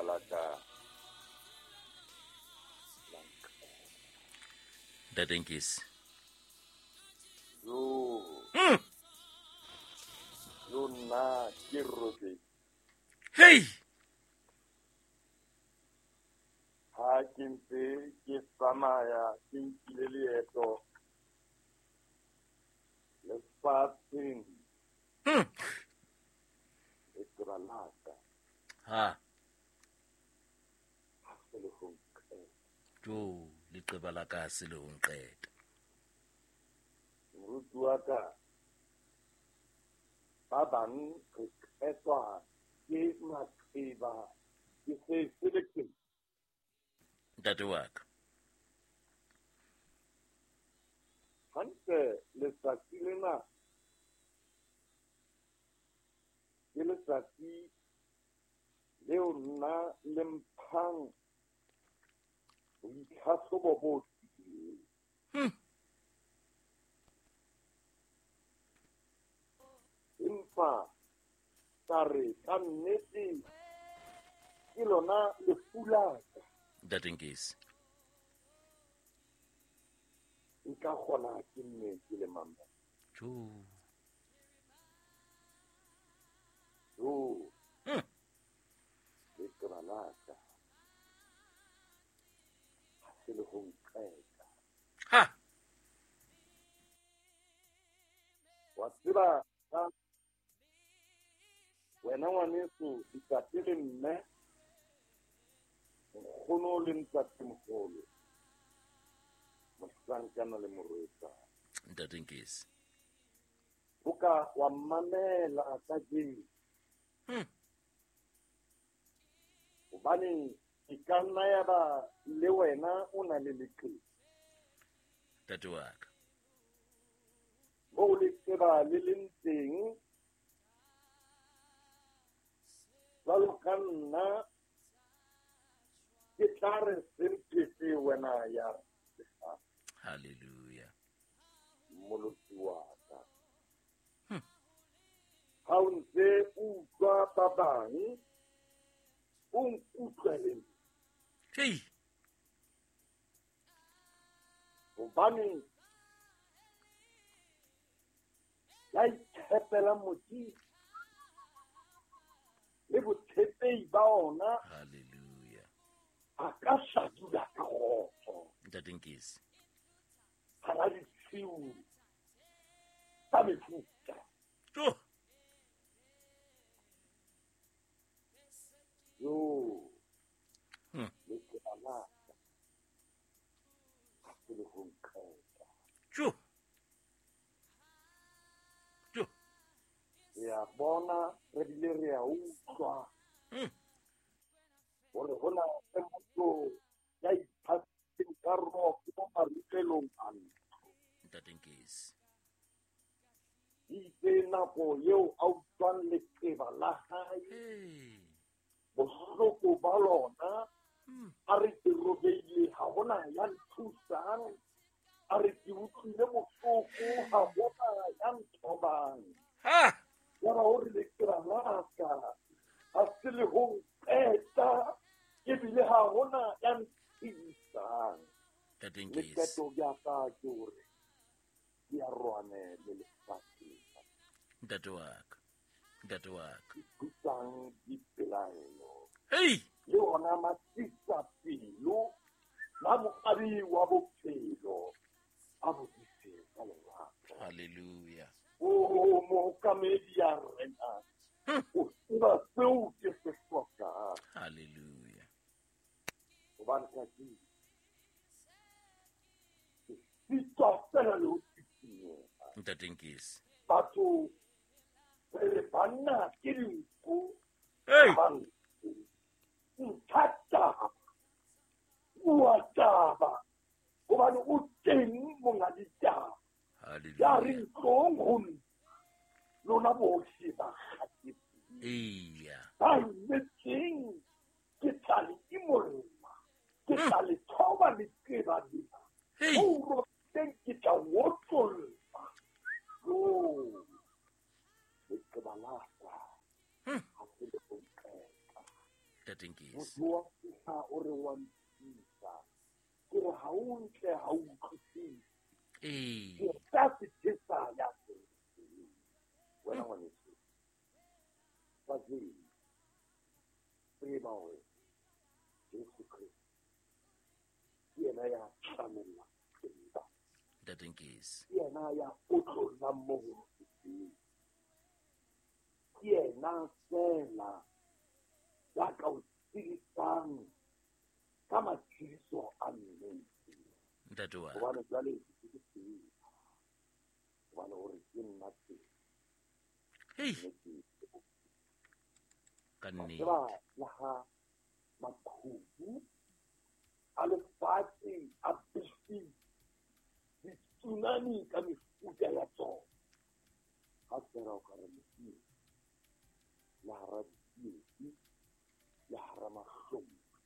la ka la nqeta. Ntate Nkisi. Yo. Yo nna ke robetse. Hey! Ha ke ntse ke tsamaya ke nkile leeto lefatsheng leqeba la ka Ha. ha se le ho nqeta. Jo, leqeba la ka ha se le ho nqeta. Moruti wa ka, ba bang re qetwa ke maqeba ke se se le teng. Ntate wa ka. Hantle letsatsi lena ke letsatsi leo nna le mphang boitlhahlobo bo tebileng. Empa ka re ka nnete ke lona lefu la ka. Ntate Nkisi. Nka kgona ke nne ke le mamela. Jo. Jo. Leqeba la ka ha se le ho nqeta. Ha. Wa tseba ka wena ngwaneso, ntate le mme, nkgono le ntatemoholo, mohlankana le morwetsana. Ntate Nkisi. O ka wa mamela kajeno. Hobane e ka nna ya ba le wena o na le leqeba. Ntate wa ka. Moo leqeba le leng teng, jwalo ka nna, ke tla re semphete wena ya lefatshe. Hallelujah. Mmoloki wa ka. Ha o ntse o utlwa ba bang, o nkutlwe le nna. Hei. Hobane ya itshepela Modimo le botshepehi ba ona. Hallelujah. A ka sa dula ka kgotso. Ntate Nkisi. Hara ditshiu tsa mefuta. Jo. Jo. Leqeba la ka ha se le ho nqeta. Jo. Jo. Re a bona, re bile re a utlwa. Hore ho na le motho ya iphatseng ka roko marutelong a ntlo. Ntate Nkisi. Itse nako eo a utlwang leqeba la hae, Hey. bohloko ba lona, a re ke robehile, ha hona ya nthusang, a re ke utlwile bohloko, ha hona ya nthobang. Ha! Ya ba hore leqeba la ka ha se le ho nqeta, ebile ha hona ya nthusang. Ntate Le Nkisi. qeto ya ka ke hore ke a rwane le lefatshe. Ntate wa ka. Ntate wa ka. Ke thusang dipelaelo. Hei! Le ona matsitsa pelo, la moabi wa bophelo, a bo dise ka lerato. Hallelujah. O mookamedi ya rena, o tseba seo ke se hlokang. Hallelujah. Hobane kajeno ke sitwa fela le ho sisinyeha. Ntate Nkisi. Batho re re banna ke dinku, Hey! ba nku. Ntsha taba, bua taba, hobane o teng monga ditaba. Hallelujah. Ya re ntlong ho nna, lona bohle ba kgathetseng. Eya. Ba imetseng, ke tla le imolla, ke tla le thoba leqeba lena. Hey! Ho robetseng ke tla otlolla. Jo, leqeba la ka ha se le ho nqeta. Ntate Nkesi. Motho wa fihla o re wa nthusa. Ke re ha o ntle ha o utlwisise. Ee. Ke tla se tjhesa ya teng. Wena ngwaneso. Kajeno tseba hore Jesu Kreste ke yena ya tlamellang tsela. Ntate Nkesi. Ke yena ya otlollang mo ho loketseng. Ke yena feela ya ka o tshedisang ka matshediso a nnete. Ntate wa ka. Hobane jwale ke ke tsela. Hobane o re ke nna tsela. Hei. Nnete. Ka Wa nnete. tseba le ha maqhubu a lefatshe a befile, ditsunami ka mefuta ya tsona. Ha fela o ka re Modimo, le hara ditsietsi, le hara mahlomola.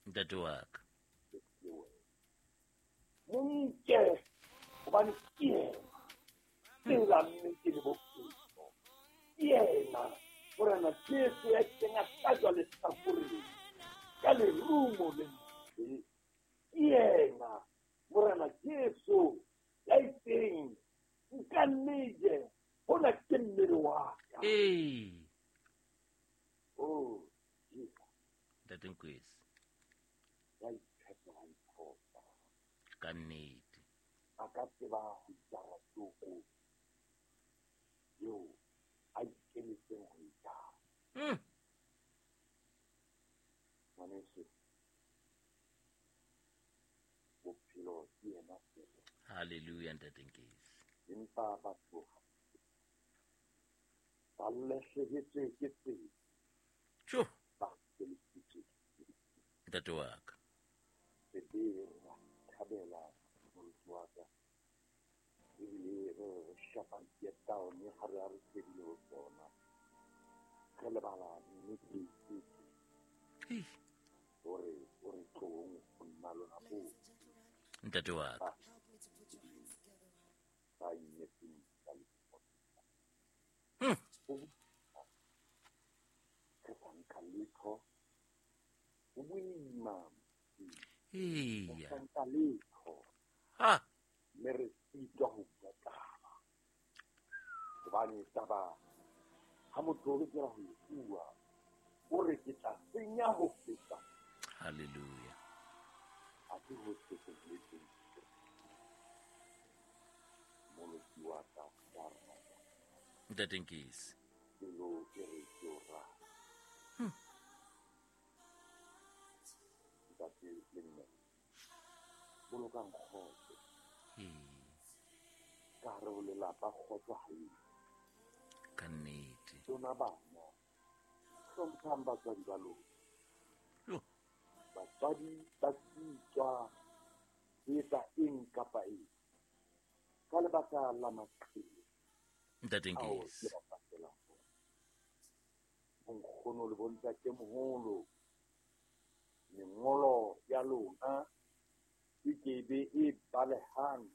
Ntate wa ka. Le wena. Mo nke, hobane ke yena tsela, nnete le bophelo. Ke yena Morena Jesu ya ileng a hlajwa lehlakoreng ka lerumo le ntle. Ke yena Morena Jesu ya itseng nka nneje hona ke mmele wa ka. Ee. Oh, Jesus. Ntate Nkwesi. Ya itshepang phoso. Ka nnete. A ka tseba ho itjara toko eo a ikemetseng ho e jara. Ngwaneso, bophelo ke yena feela. Hallelujah, Ntate Nkesi. Empa batho ba lahlehetswe ke tsela. Tjo. Ba feletswe. Ntate wa ka. Sebe ra thabela moruti wa ka. Ebile re shapa dietaone ha re a re shebile ho tsona. Re lebala nnete tse. Hei. Hore o re tlohong ho nna lona bohle. Ntate wa ka. Ba inyetseng ka lefoko. Re sa nka letho. Ho boima. Eya. Re sa nka letho. Ha. Mme re sitwa ho bua taba. Hobane taba ha motho o lokela ho e bua, o re ke tla senya ho feta. Hallelujah. Ha ke ho se ho boletseng. Moloki wa ka wa rata. Ntate Nkesi. Pelo e re ke o rata. Ntate le mme, bolokang kgotso. Ka hare ho lelapa kgotso ha eyo. Ka nnete. Lona bana, hlomphang batswadi ba lona. Yo. Batswadi ba sitwa ho etsa eng kapa eng ka lebaka la maqhele Ntate ao Nkesi. ke ba patelang ona. Bonkgono le bontatemoholo, mengolo ya lona e ke be e balehang.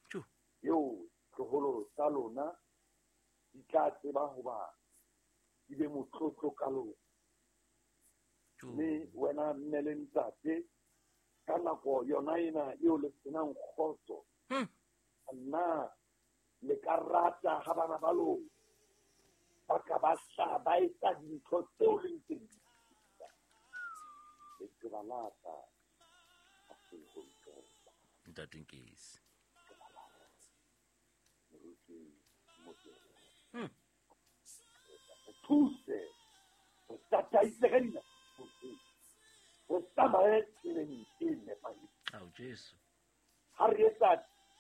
Tjo. Eo tloholo tsa lona di tla tseba hoba di be motlotlo ka lona. Tjo. Mme wena mme le ntate, ka nako yona ena eo le senang kgotso, nna le ka rata ha bana ba lona ba ka ba hlaha ba etsa dintho tseo le ntseng di etsa. Leqeba la ka ha se ho nqeta. Ntate Nkesi. Leqeba la ka. Moruti Mokele. Re thuse, re tataise ka dinako tsohle. Re tsamaye tseleng e nepahetseng. Ao, Jesu. Ha re etsa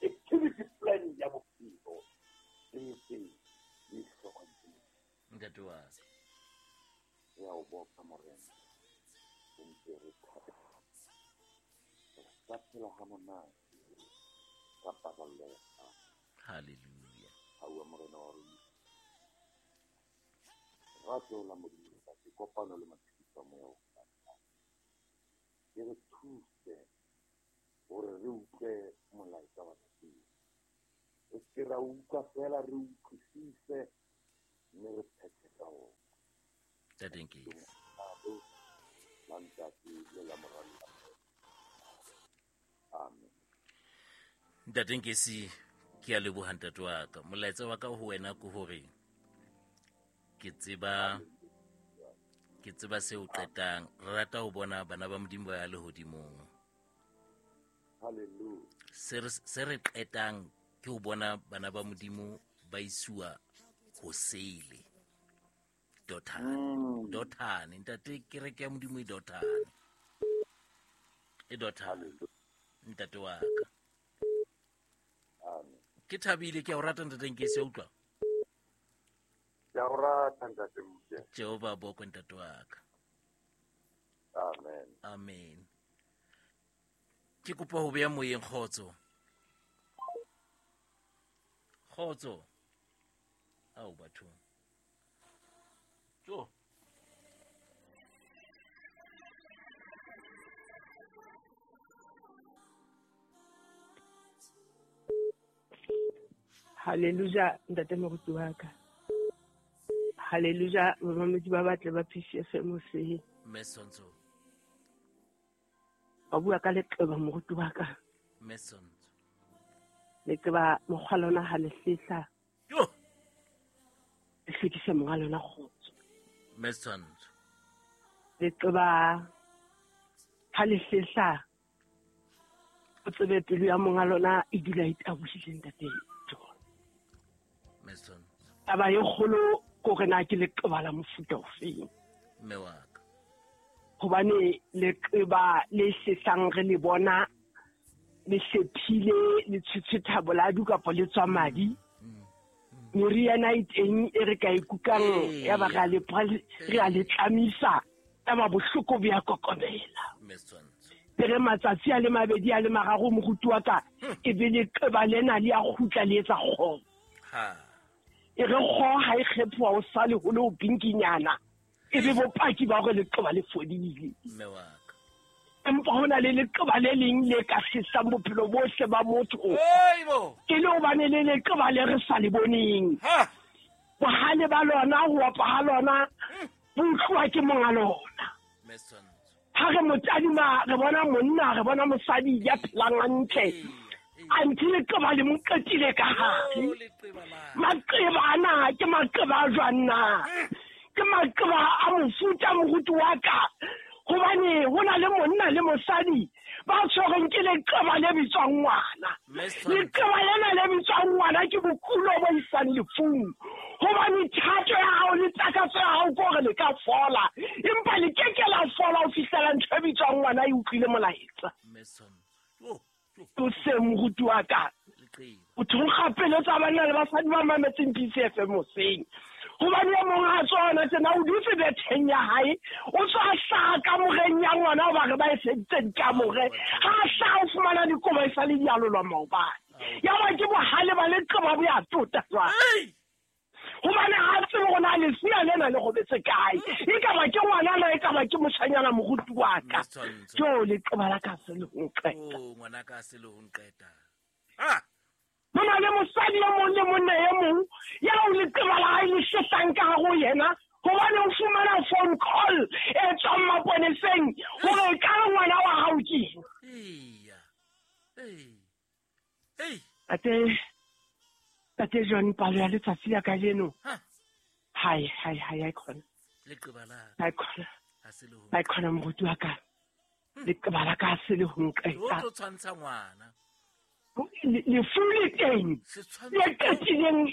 activity plan ya bophelo, re etse le hlokomele. Ntate wa ka. Re a o boka, Morena. Re ntse re thabela. Re sa phela ha monate ka paballo ya hao. Hallelujah. Ha o Morena wa rona. Rato la Modimo Ntate, kopano le matshediso a moya o halalelang. E re thuse hore re utlwe molaetsa wa kajeno. Re se ke ra utlwa feela, re utlwisise mme re phethe ka ona. Ntate Nkesi. Abo, La Ntate le la Mora le la Moya. Amen. Ntate Nkosi, ke a leboha ntate wa ka. Molaetsa wa ka ho wena ke hore ke tseba seo qetang. Re rata ho bona bana ba Modimo ba ya lehodimong. Hallelujah. Se re qetang ke ho bona bana ba Modimo ba isiwa ho sele. Dothane. Dothane. Ntate, kereke ya Modimo e Dothane. E Dothane. Ntate wa ka. Amen. Ke thabile, ke a o rata ntate Nkosi, a utlwa? Ke a o rata ntate Mokoena. Jehova bokwe ntate wa ka. Amen. Amen. Ke kopa ho beya moyeng kgotso. Kgotso. Ao bathong. Jo. Hallelujah, ntate moruti wa ka. Hallelujah, bamamedi ba batle ba PCFM hoseng. Mme Sonso. Ba bua ka leqeba moruti wa ka. Mme Sonso. Leqeba mokgwa lona ha le hlehla. Jo. Le hlwekisa monga lona kgotso. Mme Sonso. Leqeba ha le hlehla o tsebe pelo ya monga lona e dula e tabohile ntate John. Mme Sonso. Taba e kgolo ko re na ke leqeba la mofuta ofeng. Mme wa ka. Hobane leqeba le hlehlang re le bona le hlephile le tshwetshwetha boladu kapa le tswa madi. Meriana e teng e re ka e kukang ya ba re a le tlamisa ya ba bohloko bo ya kokobela. Mme Sonso. Re matsatsi a le mabedi a le mararo moruti wa ka e be leqeba lena le ya kgutla le etsa kgo. Ha. E re kgo ha e kgephoha o sale ho le o pinkinyana. E be bopaki ba hore leqeba le fodile. Mme wa ka. Empa ho na le leqeba le leng le ka sesang bophelo bohle ba motho. Eibo. E le hobane le leqeba le re sa le boneng. Ha. Bohale ba lona, ho opa ha lona, bo utluwa ke monga lona. Mme Sonso. Ha re mo tadima, re bona monna, re bona mosadi ya phelang hantle. Anthe leqeba le mo qetile ka hare. Maqeba ana ke maqeba a jwang na? Ke maqeba a mofuta moruti wa ka. Hobane ho na le monna le mosadi ba tshwerweng ke leqeba le bitswang ngwana. Leqeba lena le bitswang ngwana ke bokulo bo isang lefung. Hobane thato ya hao le takatso ya hao ke hore le ka fola, empa le ke ke la fola ho fihlela ntho e bitswang ngwana e utlwile molaetsa. O se moruti wa ka. O thonkga pelo tsa banna le basadi ba mametseng PCFM hoseng. Hobane e mong ha tsona tsena o dutse betheng ya hae, o tswa hlaha kamoreng ya ngwana hoba re ba e feditse dikamore. Ha hlaha o fumana dikobo e sa le di alolwa maobane. Ya ba ke bohale ba leqeba bo ya tota jwale. Hobane ha tsebe hore na lesea lena le robetse kae. E ka ba ke ngwana na e ka ba ke moshanyana moruti wa ka. Jo leqeba la ka se le ho nqeta. Oh, ngwana ka se le ho nqeta. Ha. Ho na le mosadi e mong le monna e mong ya o leqeba la hae le hlehlang ka hare ho yena, hobane o fumana phone call e tswang maponeseng hore e ka re ngwana wa hao ke eng. Eya. Ei. Ei. Tate John, palo ya letsatsi la kajeno. Hai, hai, hai, hai khona. Leqeba la. Hai khona. Ha se le ho. Hai khona moruti wa ka. Leqeba la ka se le ho nqeta. O tlo tshwantsha ngwana. Lefu le teng. Le qetileng,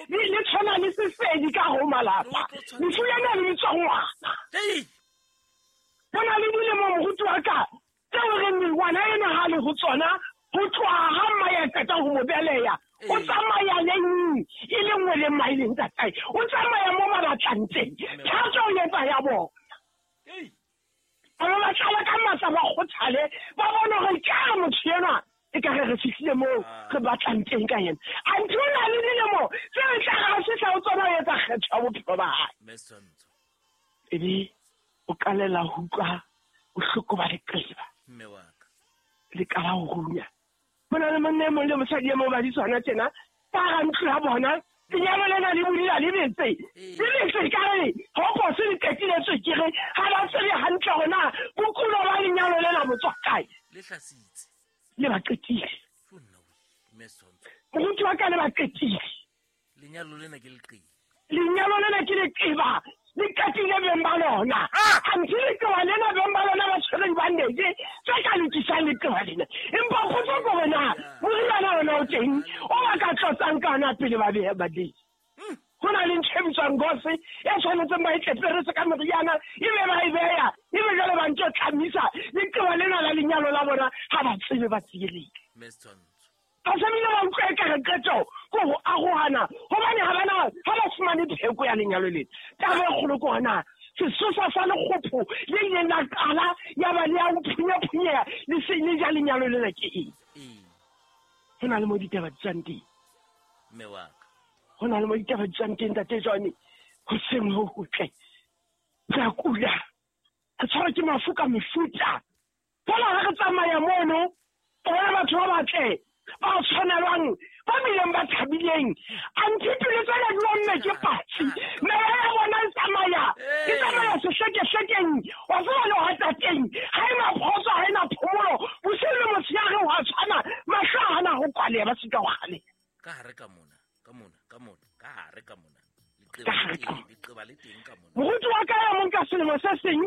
le tshwana le sesedi ka ho malapa. Lefu lena le bitswa ngwana. Ei. Ho na le dilemo moruti wa ka tseo re ngwana ena ha le ho tsona, ho tloha ha mma ya qeta ho mo beleha. O tsamaya le nngwe, e le nngwe le mmae le ntatae. O tsamaya mo ba batlang teng. Thato o etsa ya bona. Ba ba tlala ka matla ba kgothale, ba bone hore ke a motho enwa e ka re re fihlile moo re batlang teng ka yena. Anthe o na le dilemo tse re tla re fihla ho tsona ho etsa kgetho ya bophelo ba hae. Mme Sonso. Ebe o qalela ho utlwa bohloko ba leqeba. Mme wa ka. Le qala ho runya. Ho na le monna e mong le mosadi e mong ba di tsona tjena, ka hara ntlo ya bona, lenyalo lena le bodila le betse. Le betse ka re, ho phoso le qetile tswekere, ha ba thwasitse. Le ba qetile. Moruti wa ka le ba qetile. Lenyalo lena ke leqeba. Lenyalo lena ke leqeba. Le qetile beng ba lona. Anthe leqeba lena beng ba lona ba tshwere dibandage tse ka lokisang leqeba lena. Empa potso ke hore na moriana ona o teng o ba ka tlotsang ka ona pele ba beha bandage. Ho na le ntho e bitswang gose e tshwanetseng ba e tleperetse ka meriana ebe ba e beya ebe jwale ba ntso tlamisa leqeba lena la lenyalo la bona ha ba tsebe ba tsielehile. Ba tlamehile ba utlwa ekare qeto ke ho arohana hobane ha ba fumane pheko ya lenyalo lena. Taba e kgolo ke hore na sesosa sa lekgopho le ileng la qala ya ba le ya ho phunyaphunyeha le se le ja lenyalo lena ke eng? Ho na le mo ditaba di tswang teng. Mme wa ka. Ho na le mo ditaba di tswang teng ntate Johnny. Hoseng ho hotle. Re a kula. Re tshwarwa ke mafu ka mefuta. Fela ha re tsamaya mono, bona batho ba batle ba tshwanelwang ba bileng ba thabileng. Anthe pelo tsena di omme ke patsi. Meya ya bona e tsamaya. E tsamaya sehlekehlekeng. Wa tseba le hwatateng. Ha ena kgotso, ha ena phomolo. Bosiu le motshehare ho a tshwana. Mahlo a hana ho kwaleha, ba sitwa ho kgaleha. Ka hare ka mona, ka mona, ka mona, ka hare ka mona. Ka hare ka mona. Leqeba le teng ka mona. Moruti wa ka ya mong ka selemo se seng,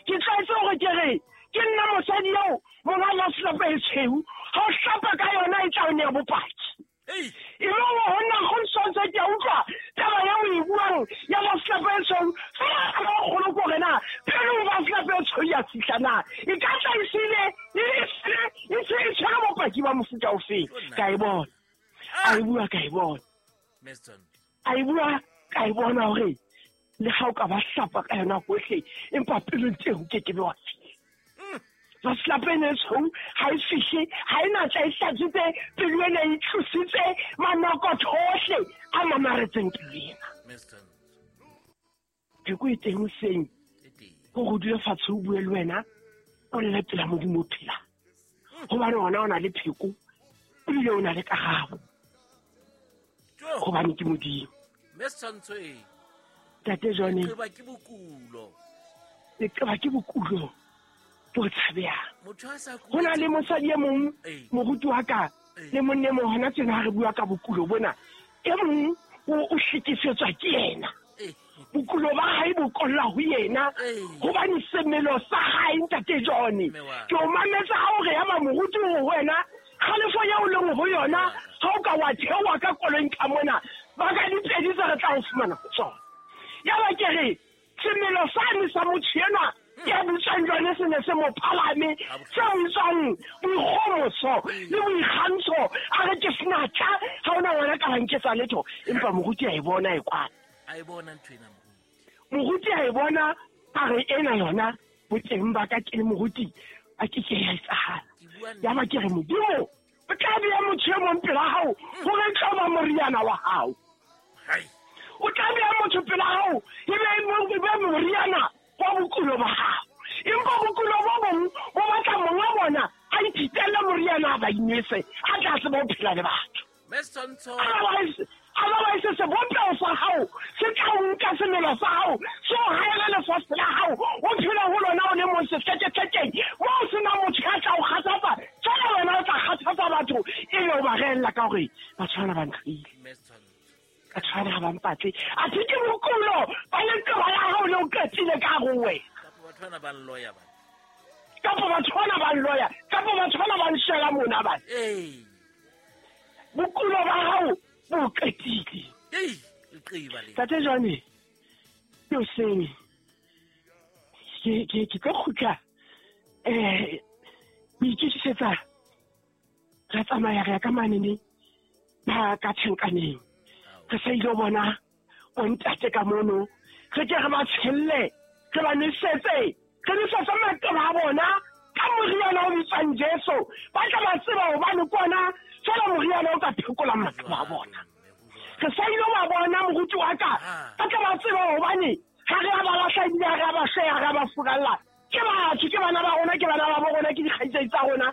ke tlwaetse hore ke re, ke nna mosadi eo monga la selapa e tshweu. Ha o hlapa ka yona e tla o nea bopaki. E le hore ho nna go ntshwantshe ke a utlwa taba eo o e buang ya ba selapa e tshweu. Fela taba e kgolo ke hore na pelong ba selapa e tshweu ya fihla na. E ka tla e sile, e tshwere bopaki ba mofuta ofeng. Ka e bona. A e bua ka e bona. A e bua ka e bona hore le ha o ka ba hlapa ka yona hohle empa pelong teng o ke ke be wa fihla. Ba selapa ena e tshweu ha e fihle, ha e natla e hlatswitse pelo ena e tlositse manokotho ohle a mamaretseng pelo ena. Pheko e teng hoseng hore o dule fatshe o bue le wena o lle pela Modimo o phelang. Hobane ona o na le pheko ebile o na le karabo. Hobane ke Modimo. Ntate Johnny. Leqeba ke bokulo. Leqeba ke bokulo bo tshabehang. Ho na le mosadi e mong moruti wa ka le monna e mong hona tjena ha re bua ka bokulo bona. E mong o hlekefetswa ke yena. Bokulo ba hae bo kolla ho yena hobane semelo sa hae ntate Johnny. Ke o mametse ha o re ya ba moruti ho wena kgalefo eo o leng ho yona ha o ka wa theoha ka koloing ka mona ba ka dipedi tse re tla o fumana ho tsona. Ya ba ke re semelo sane sa motho enwa ya butswang jwane se ne se mo phalame se bitswang boikgomoso le boikgantsho. A re ke senatla ha ona ngwana ka banketsa letho. Empa moruti a e bona e kwana. A e bona ntho ena moruti. Moruti a e bona a re ena yona boteng ba ka ke le moruti a ke ke ya etsahala. Ya ba ke re Modimo o tla beha motho e mong pela hao hore e tlo ba moriana wa hao. O tla beha motho pela hao ebe moriana wa bokulo ba hao. Empa bokulo bo bong bo batla monga bona a ithitelle moriana a ba inwese a tla tseba ho phela le batho. Otherwise sebopeho sa hao se tla o nka semelo sa hao se o haele lefatshe la hao o phele ho lona o le mong sehlekehlekeng moo o sena motho ya tla o kgathatsa. Fela wena o tla kgathatsa batho ebe o ba reella ka hore batho bana ba ntlhoile. Batho bana ha ba mpatle. Athe ke bokulo ba leqeba la hao le o qetile ka hare ho wena. Kapa batho bana ba nloya bana. Kapa batho bana ba nloya. Kapa batho bana ba nshela mona bana. Bokulo ba hao bo qetile. Tate Johnny, ke hoseng ke tlo kgutla ho itokisetsa re tsamaya re ya ka manene ba ka tjhankaneng. Re sa ile bona bontate ka mono re ke re ba tshelle re ba nwesetse re nwesetse maqeba a bona ka moriana o bitswang Jesu. Ba tla ba tseba hobane ke ona fela moriana o ka phekola maqeba a bona. Re sa ile ba bona moruti wa ka ba tla ba tseba hobane ha re a ba lahla ebile ha re a ba sheha, ha re a ba furalla. Ke batho, ke bana ba rona, ke bana ba bo rona, ke dikgaitsedi tsa rona.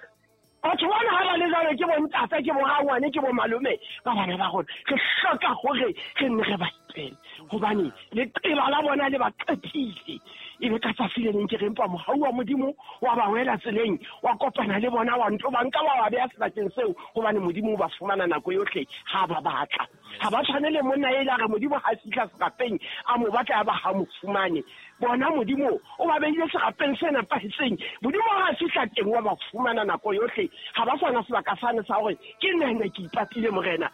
Batho bona ha ba le jwalo ke bontate, ke borangwane, ke bomalome ba bana ba rona. Re hloka hore re nne re ba rapele gobane leqeba la bona le ba qetile. E be ka tsatsi le leng ke re empa mohau wa Modimo wa ba wela tseleng, wa kopana le bona, wa nto ba nka wa ba beya sebakeng seo, gobane Modimo o ba fumana nako yohle ha ba batla. Ha ba tshwane le monna ele a re Modimo ha fihla serapeng a mo batla ya ba ha mo fumane. Bona Modimo o ba beile serapeng se nepahetseng. Modimo ha fihla teng wa ba fumana nako yohle. Ha ba sana sebaka sane sa hore ke nne ke ipatile Morena.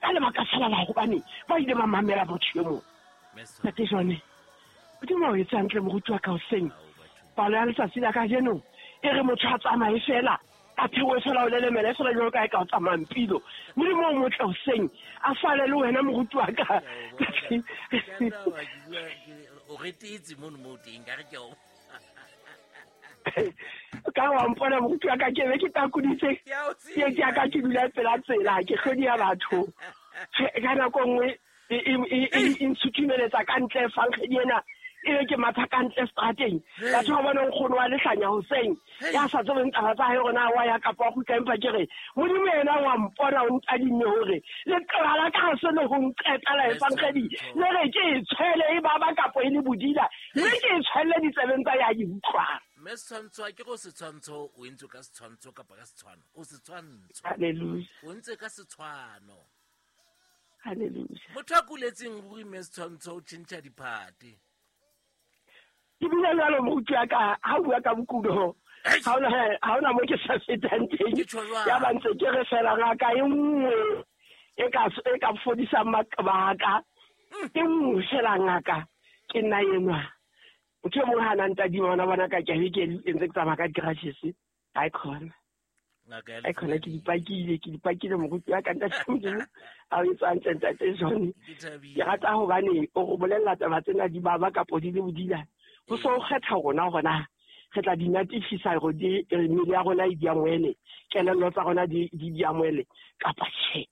Ka lebaka fela la gobane ba ile ba mamela motho yo mongwe. Ntate Jone, Modimo o etse hantle moruti wa ka hoseng. Palo ya letsatsi la kajeno e re motho a tsamaye fela, a theohe fela o lelemele fela jwalo ka e ka o tsamayang pilo. Modimo o motle hoseng, a sale le wena moruti wa ka. O retetse mono mo teng, ka re ke o. Ka wa mpona moruti wa ka, ke be ke takoditse ke ya ka ke dula pela tsela, ke hlodi ya batho. Ka nako nngwe e ntshutumeletsa ka ntle fankgedi ena, e be ke matha ka ntle strateng. Batho ba bona nkgono wa lehlanya hoseng, ya sa tsebeng taba tsa hae hore na wa ya kapa wa kgutla, empa ke re Modimo yena wa mpona o ntadimme hore leqeba la ka ha se le ho nqeta la efankgedi, le re ke e tshwele e baba kapo e le bodila, mme ke e tshwelle ditsebeng tsa ya di utlwang. Mme setshwantsho a ke go setshwantsho o entswe ka setshwantsho kapa ka setshwano, o setshwantsho. Hallelujah. O ntse ka setshwano. Hallelujah. Motho a kuletseng ruri mme setshwantsho o tjhentjha diphate. Ke bile jwalo moruti wa ka, ha o bua ka bokulo, ha hona mo ke sa fetang teng. Ya ba ntse ke re fela ngaka e nngwe e ka fodisang maqeba a ka. E nngwe fela ngaka, ke nna enwa. Motho e mong ha na ntadima ona bona ka ke ke ntse ke tsamaya ka di-crutches. Ha e khona. Ai khona ke dipakile moruti wa ka ntate Modimo a o etsa hantle ntate Jone. Ke rata hobane o go bolella taba tsena di baba kapo di le bodila. Ho so kgetha rona hore re tla di natifisa hore di mmele ya rona e di amohele, kelello tsa rona di di amohele kapa tjhe.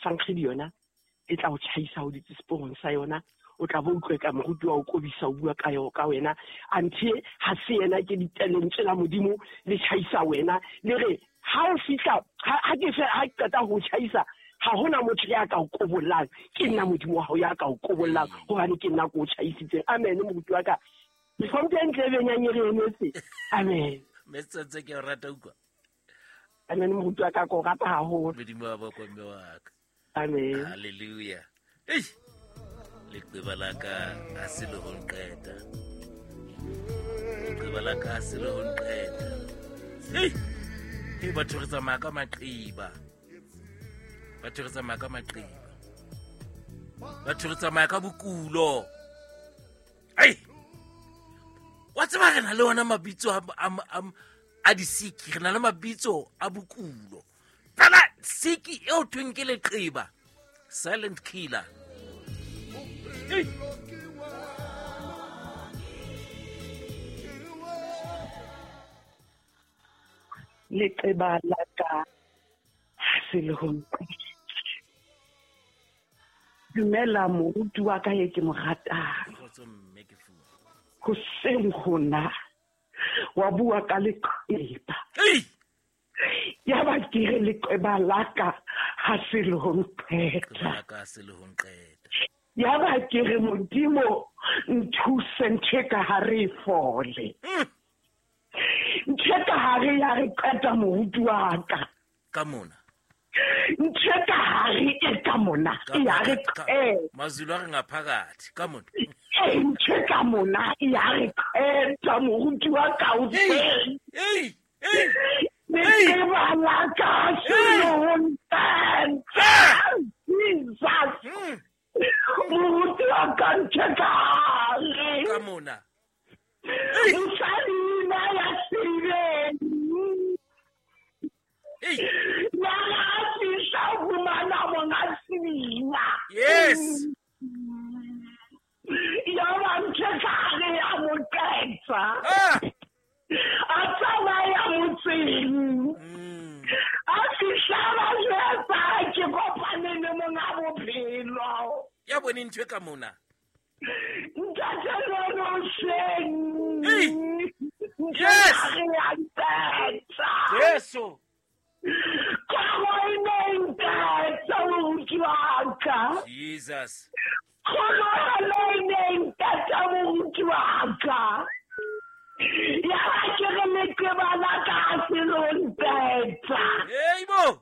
Sankgedi yona e tla o tjhaisa ho ditse seporong sa yona. O tla bo utlwe ka moruti wa o kobisa o bua ka yo ka wena. Anthe ha se yena ke ditalentswe la Modimo le tjhaisa wena, le re ha o fihla ha ke fe ha qeta ho tjhaisa, ha hona motho ya ka o kobollang, ke nna Modimo wa hao ya ka o kobollang, hobane ke nna ko o tjhaisitseng. Amen moruti wa ka. Hlomphe ntle e benyang e re emetse. Amen. Mme Setshwantsho ke o rata utlwa. Amen moruti wa ka, ke o rata haholo. Modimo wa bokwe mme wa ka. Amen. Hallelujah. Ei. Leqeba la ka ha se le ho nqeta. Leqeba la ka ha se le ho nqeta. Ei. Ei, batho re tsamaya ka maqeba. Batho re tsamaya ka maqeba. Batho re tsamaya ka bokulo. Ei. Wa tseba re na le ona mabitso a disiki, re na le mabitso a bokulo. Fela siki eo thweng ke leqeba, silent killer. Ei. Leqeba la ka ha se le ho nqeta. Dumela moruti wa ka ye ke mo ratang. Hoseng hona wa bua ka leqeba. Ya ba ke re leqeba la ka ha se le ho nqeta. Ya ba ke re Modimo nthuse ntho e ka hare e fole. Ntho e ka hare ya re qeta moruti wa ka. Ka mona. Ntho e ka hare e ka mona ya re qeta. Mazulu a re ngaphakathi ka mona. Ntho e ka mona ya re qeta moruti wa ka o Ei, ei. Leqeba la ka se le ho nqeta. Jesus. Moruti wa ka ntho e ka hare. Ka mona. Mosadi na ya sebeng. Ei. Ya ga fihla fumana monga sebina. Yes. Ya ba ntho e ka hare ya mo qeta. A tsamaya motseng. A fihla ba jwetsa ke kopane le monga bophelo. Ya bone ntho e ka mona. Ntate Lolo hoseng. Yes. Jesu. Ka mo e ne nqeta moruti wa ka. Jesus. la ka. Ya ba ke re leqeba la ka ha se lo ntetsa. Hey bo.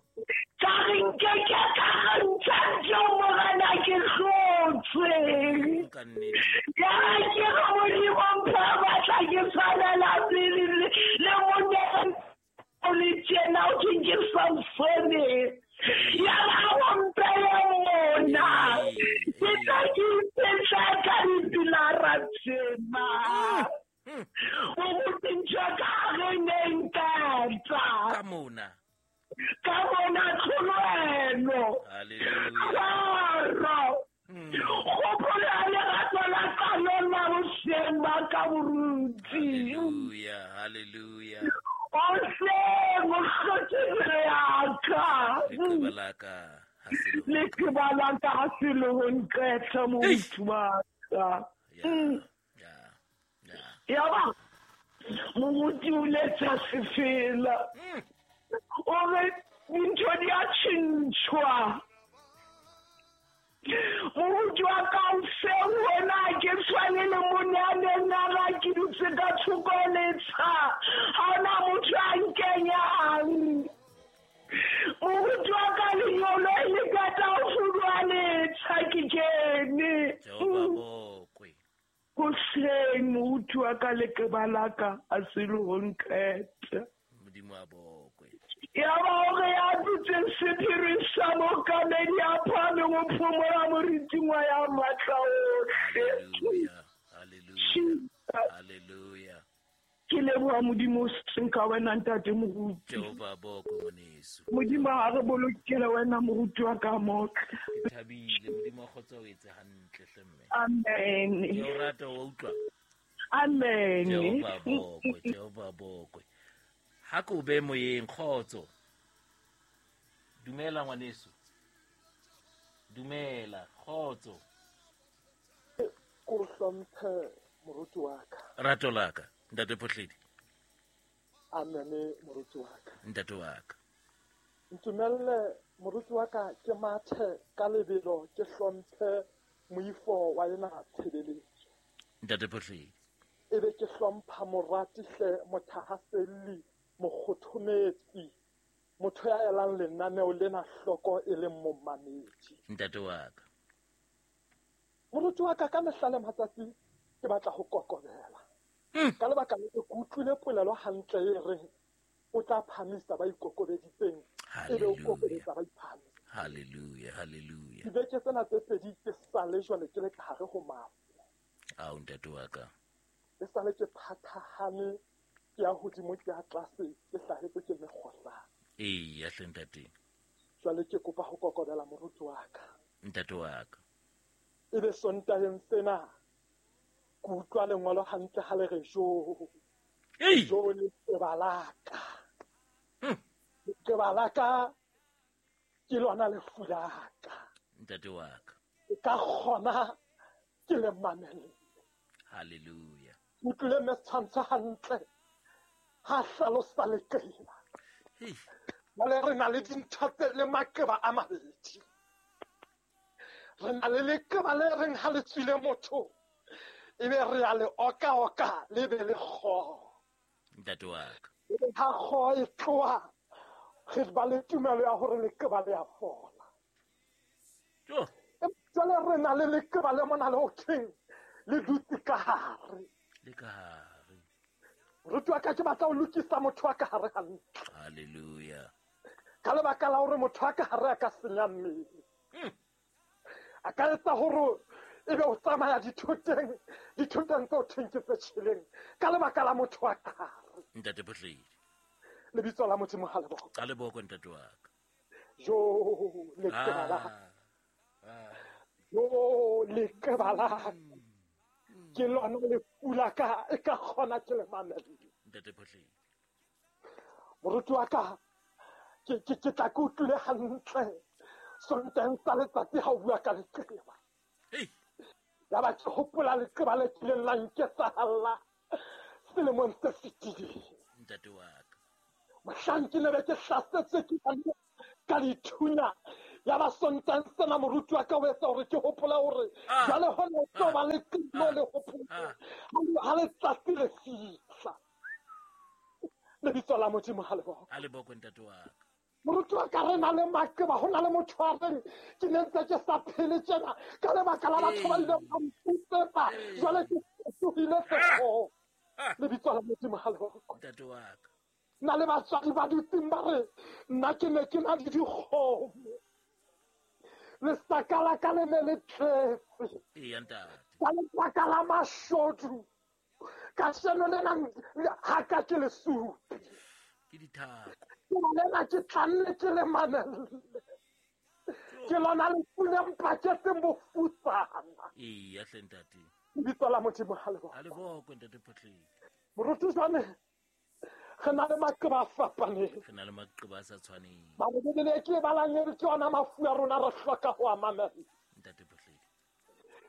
Ka re nkeke ka re ntsha ntho morena ke hlotswe. Ka nnete. Ya ke re Modimo mpha matla ke tshwanela pele le monna o le tjena o thweng ke Samsone. Ya ba o mpele mona. Ke tla ke ipetla ka dipilara tsena. O botse ntho ka re ne ntatsa. Ka mona. Ka mona tlholoelo. Hallelujah. Kgopolo ya lerato la ka lona boseng ba ka moruti. Hallelujah. Hallelujah. O seng o hlotse pelo ya ka. Leqeba la ka ha se le ho Leqeba la ka ha se le ho nqetha moruti wa ka. Ya. Ya. Ya. Ya ba moruti o letsa sefela. O re dintho di a tjhentjhwa. Moruti wa ka o seng wena ke tshwane le monna a neng a re ke dutse ka thoko letsha. Ha hona motho a nkenyang. Moruti wa ka lenyolo le qeta ho fuduwa letsha ke kene. Jehova bokwe. Hoseng moruti wa ka leqeba la ka ha se le ho nqeta. Modimo a bokwe. Ya ba hore ya dutseng sephiring sa mookamedi a phahameng o phomola moriting wa ya matla ohle. Hallelujah. Hallelujah. Hallelujah. Ke leboha Modimo o seng ka wena ntate moruti. Jehova bokwe ngwaneso. Modimo ha re bolokele wena moruti wa ka motle. Ke thabile Modimo a kgotsa o etse hantle hle mme. Amen. Ke o rata wa utlwa. Amen. Jehova bokwe, Jehova bokwe. Ha ko be moyeng kgotso. Dumela ngwaneso. Dumela kgotso. Ko hlomphe moruti wa ka. Rato la ka, ntate Phohledi. Amen moruti wa ka. Ntate wa ka. Ntumelle moruti wa ka ke mathe ka lebelo ke hlomphe moifo wa ena tshebeletso. Ntate Phohledi. Ebe ke hlompha morati hle mothahaselli mokgothometsi motho ya elang lenaneo lena hloko e leng momamedi. Ntate wa ka. Moruti wa ka ka mehla le matsatsi ke batla ho kokobela. Ka lebaka le ke utlwile polelo hantle e reng o tla phamisa ba ikokobeditseng ebe o kokobetsa ba iphahamisa. Hallelujah, hallelujah. Dibeke tsena tse pedi ke sale jwale ke le ka hare ho mafu. Ao ntate wa ka. E sale ke phathahane ke ya hodimo ke ya tlase ke hlahetse ke mekgohlane. Eya hle ntate. Jwale ke kopa ho kokobela moruti wa ka. Ntate wa ka. Ebe Sontaheng sena ke utlwa lengolo hantle ha le re jo. Jo leqeba la ka. Leqeba la ka ke lona lefu la ka. Ntate wa ka. Ke ka kgona ke le mamelle. Hallelujah. Utlwile mme setshwantsho hantle ha hlalosa leqeba. Jwale re na le dintho tse le maqeba a mabedi. Re na le leqeba le reng ha le tswile motho ebe re a le oka-oka le be le kgoho. Ntate wa ka. Ebe ha kgoho e tloha re ba le tumelo ya hore leqeba le a fola. Jwale re na le leqeba le mona le ho thweng le dutse ka hare. Le ka hare. Moruti wa ka ke batla ho lokisa motho wa ka hare hantle. Hallelujah. Ka lebaka la hore motho wa ka hare a ka senya mmele. A ka etsa hore ebe o tsamaya dithoteng tse o thweng ke tse tjheleng ka lebaka la motho wa ka hare. Ntate Phohledi. Lebitso la Modimo ha le bokwe. Ha le bokwe ntate wa ka. Jo leqeba la ka. Jo leqeba la ka. Ke lona lefu la ka e ka kgona ke le mamelle. Ntate Phohledi. Moruti wa ka ke tla ke utlwile hantle Sontaheng sa letsatsi ha o bua ka leqeba. Ya ba ke hopola leqeba le kileng la nketsahalla selemong se fetileng. Ntate wa ka. Mohlang ke ne be ke hlasetswe ke ka dithunya Ya ba Sontang sena moruti wa ka o etsa hore ke hopola hore jwale hona o tlo ba le qimo le hopola ha letsatsi le fihla. Lebitso la Modimo ha le bokwe. Ha le bokwe ntate wa ka. Moruti wa ka re na le maqeba, ho na le motho a reng ke ne ntse ke sa phele tjena ka lebaka la batho ba ileng ba mputsetsa, jwale ke fetohile sekgoho. Lebitso la Modimo ha le bokwe. Ntate wa ka. Nna le batswadi ba dutseng ba re nna ke ne ke na le dikgomo, lesaka la ka le ne le tletse. Eya ntate. Ka lebaka la mashodu kasheno lena ha ka ke lesupi. Ke dithako. Ke lena ke tlanne ke le mamelle. Ke lona lefu le mpaketseng bofutsana. Eya hle ntate. Lebitso la Modimo ha le bokwe. Ha le bokwe ntate Photleng. Moruti jwale re na le maqeba a fapaneng. Re na le maqeba a sa tshwaneng. Mare Bibele ke e balang e re ke yona mafu a rona re hloka ho a mamella. Ntate Photleng.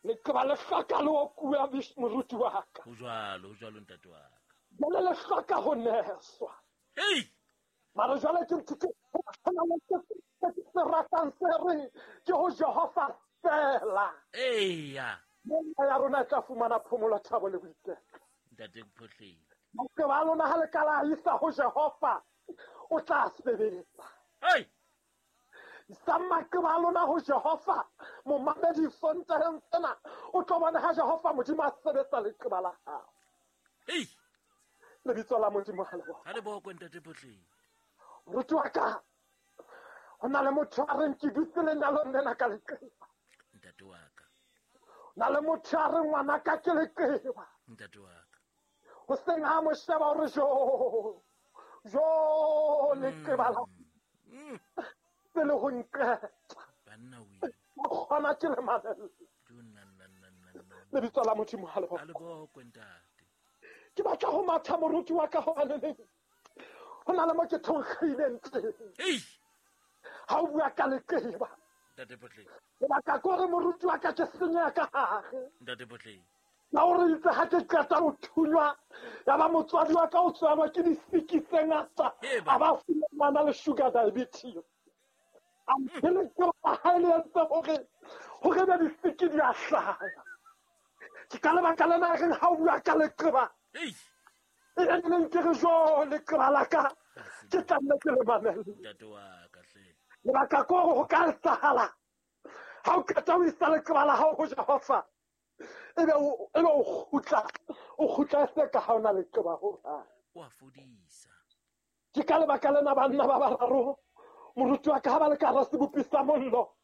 Leqeba le hloka le okuwa moruti wa ka. Ho jwalo ntate wa ka. Jwale le hloka ho neswa. Hei! Mare jwale ke ntho ke ratang se reng ke ho Jehova fela. Eya. Moya ya rona e tla fumana phomolo, thabo le boiketlo. Ntate Photleng. Maqeba a lona ha le ka la isa ho Jehova, o tla sebetsa. Hei! Isang maqeba a lona ho Jehova, momamedi Sontaheng sena, o tlo bona ha Jehova Modimo a sebetsa leqeba la hao. Hei! Lebitso la Modimo ha le bokwe. Ha le bokwe ntate Photleng. Moruti wa ka, ho na le motho a reng ke dutse lenyalong lena ka leqeba. Ntate wa ka. Ho na le motho a reng ngwana ka ke leqeba. Ntate wa ka. Hoseng ha mo sheba o re jo, jo leqeba la pele ho nqeta. Banna we. O kgona ke le mamelle. Lebitso la Modimo ha le bokwe. Ha le bokwe ntate. Ke batla ho matha moruti wa ka hobaneneng ho na le mo ke thonkgileng teng. Hei! Ha o bua ka leqeba. Ntate Photleng. Lebaka ke hore moruti wa ka ke senyeha ka hare. Ntate Photleng. La hore itse ha ke qeta ho thunywa, ya ba motswadi wa ka o tswalwa ke disiki tse ngata, a ba fumana le sugar diabetes. A mphele ke ha le entse hore be disiki di a hlaha. Ke ka lebaka lena reng ha o bua ka leqeba. Hei! E neng ke re jo leqeba la ka ke tla nne ke le mamelle. Ntate wa ka hle. Lebaka ke hore ho ka etsahala ha o qeta ho isa leqeba la hao ho Jehova, ebe o kgutla se ka ha o na leqeba ho hang. O a fodisa. Ke ka lebaka lena banna ba bararo moruti wa ka ha ba le ka hara sebopi sa mollo,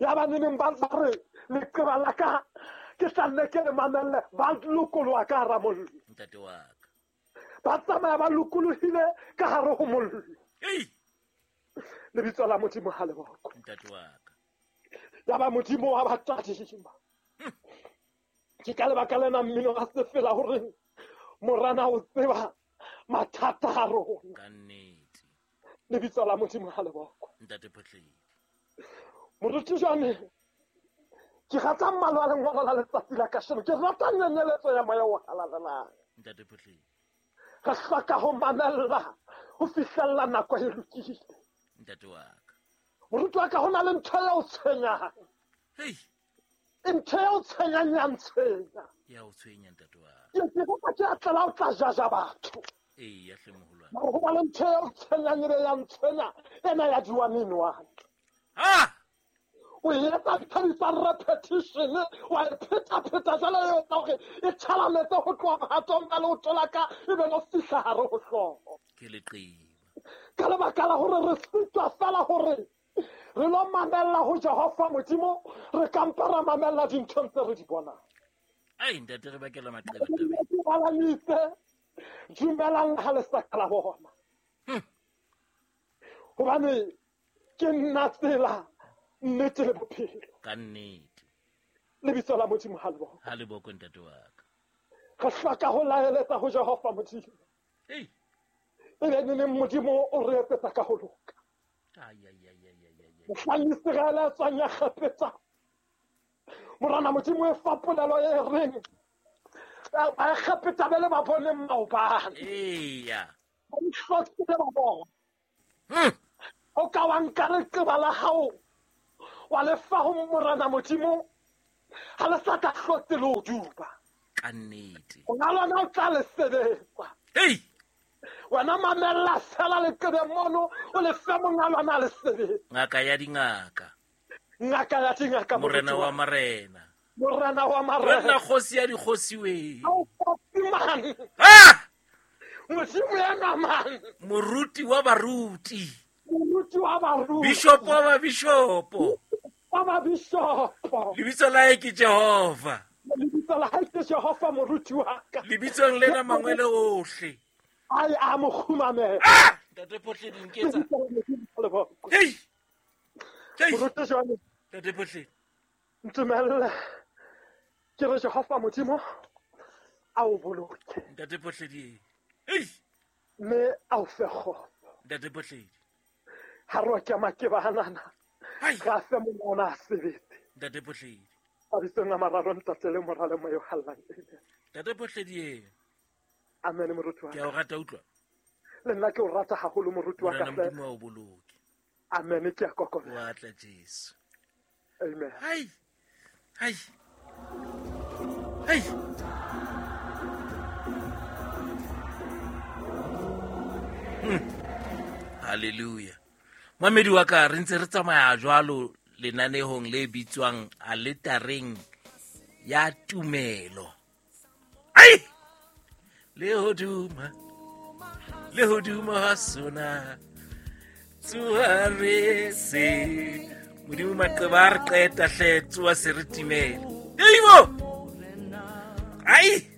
ya ba neneng ba re leqeba la ka ke tla nne ke le mamelle, ba lokoloha ka hara mollo. Ntate wa ka. Ba tsamaya ba lokolohile ka hare ho mollo. Hei! Lebitso la Modimo ha le bokwe. Ntate wa ka. Ya ba Modimo wa ba tadima. Ke ka lebaka lena mmino a se fela hore morana o tseba mathata a rona. Ka nnete. Lebitso la Modimo ha le bokwe. Ntate Photleng. Moruti jwale ke rata mmalo wa lengolo la letsatsi la kasheno, ke rata nyenyeletso ya moya o halalelang. Ntate Photleng. Re hloka ho mamella ho fihlella nako e lokile. Ntate wa ka. Moruti wa ka, ho na le ntho ya o tshwenyang. Hei! Ntho ya o tshwenyang ya ntshwenya. Ya o tshwenya ntate wa ka. Ke kopa ke a tlela o tla jaja batho. Eya hle moholwane. Mare ho ba le ntho ya o tshwenyang ebe ya ntshwenya, ena ya di-one in one. Ha! O etsa ntho e bitswang repetition, wa e pheta-pheta jwale e etsa hore e tjhalametse ho tloha mohatong ka leoto la ka, ebe lo fihla hare ho hlooho. Ke leqeba. Ka lebaka la hore re sitwa fela hore re lo mamella ho Jehova Modimo, re ka mpa ra mamella dinthong tse re di bonang. Ai ntate re bakela maqeba tabeng. Balanise, dumelang ha le sa ka la bona. Hobane ke nna tsela, nnete le bophelo. Ka nnete. Lebitso la Modimo ha le bokwe. Ha le bokwe ntate wa ka. Re hloka ho laeletsa ho Jehova Modimo. Hei! Ebe neneng Modimo o re etsetsa ka ho loka. Ai ai ai ai ai ai. Mohlang Iseraele a tswang ya Kgapetsa, Morena Modimo e fa polelo e reng ba Kgapetsa be le ba boneng maobane. Eya. Ba ihlokile ba bona. O ka wa nka leqeba la hao Wa le fa ho Morena Modimo ha le sa tla hlotse le o duba. Ka nnete. Ona lona o tla le sebetsa. Hei! Wena mamella fela leqebe mono o le fe monga lona le sebetsa. Ngaka ya dingaka. Ngaka ya dingaka. Morena wa marena. Morena wa marena. Wena kgosi ya dikgosi we. Au man. Ah! Modimo ena man. Moruti wa baruti. Moruti wa baruti. Bishop wa babishopo. Wa babishopo. Lebitso la hae ke Jehova. Lebitso la hae ke Jehova moruti wa ka. Lebitsong lena mangwele ohle. Ai a mo khumamela. Ah! Ntate Phohledi nketsa. Hei! Hei! Moruti jwale. Ntate Phohledi. Ntumelle. Ke re Jehova Modimo a o boloke. Ntate Phohledi. Hei! Mme a o fe kgotso. Ntate Phohledi. Ha re ke makeba hanana. Hai! Ga fe mona a sebetse. Ntate Phohledi. Mabitsong a mararo Ntate le Mora le Moya o Halalelang. Ntate Phohledi. Amen moruti wa Ke a o rata utlwa. Le nna ke o rata haholo moruti wa ka. Morena Modimo a o boloke. Amen ke a kokobela. Wa tla Jesu. Amen. Hai! Hai! Hai! Hallelujah. Mamedi wa ka re ntse re tsamaya jwalo lenanehong le bitswang aletareng ya tumelo. Ai! Le hoduma ha sona tsoha re se Modimo maqeba a re qeta hle tsoha se re timele. Eibo! Ai!